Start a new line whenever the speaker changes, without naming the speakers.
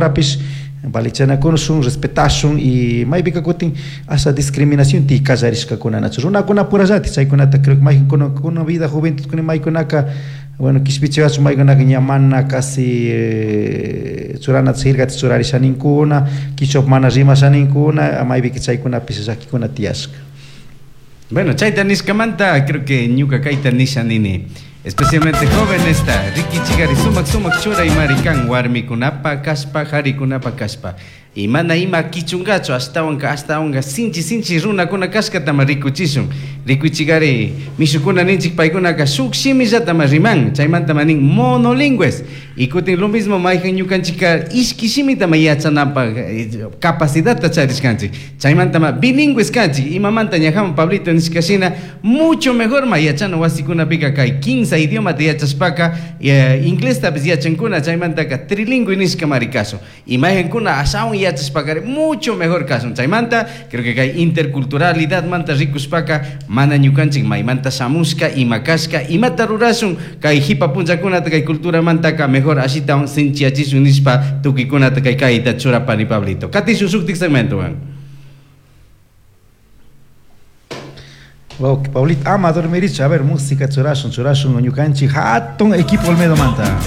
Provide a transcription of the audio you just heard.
Rukunapurapish valichanakushun, respetashun y maypika kutin asha discriminación ti kallarishkakuna nachu runakunapurallatik chaykunata creo que maykankuna vida juventud maykunaka bueno kishpichiwachu maykunaka ña mana casi churanata sirgata churarishaninkuna kichwa mana rimashaninkuna maypika chaykunapish llakikuna tiyashka.
Bueno, chayta nishkamanta creo que ñuka kayta nisha nini. Especialmente jóvenes ta rikichigari sumak sumak churay marikan warmikunapa kashpa harikunapa kashpa. Y mana ima kichungachu ashtawanka ashtawanka sinchi sinchi runakuna kashkatama rikuchishun. Rikuchigari mishukuna ninchik paykunaka shuk shimillatama riman chaymanta nin monolingües. Y kutin lo mismo mayhan ñukanchika ishki shimitama yachanapaq capacidadta charishkanchik. Chaymantama bilingües kanchik imamanta ñajaman Pablito nishkashina mucho mejor ma yachana wasikunapika kay 15 idiomata yachashpaka inglestapis yachankuna chaymantaka trilingüe nishkamari kashun. Y mayhankuna ashawan yachashpakari mucho mejor kashun. Chaymanta creo que kay interculturalidad manta rikushpaka mana ñukanchik maymanta shamushka ima kashka imata rurashun kay hipa punllakunata kay culturamantaka mejor ashitawan sinchiyachishun nishpa tukuykunata kay kayta churapani Pablito. Katishun shuktik segmentowan.
Ok, Pablito, ama dormirichu. A ver, música churashun, churashun ñukanchik hatun equipo Olmedo manta.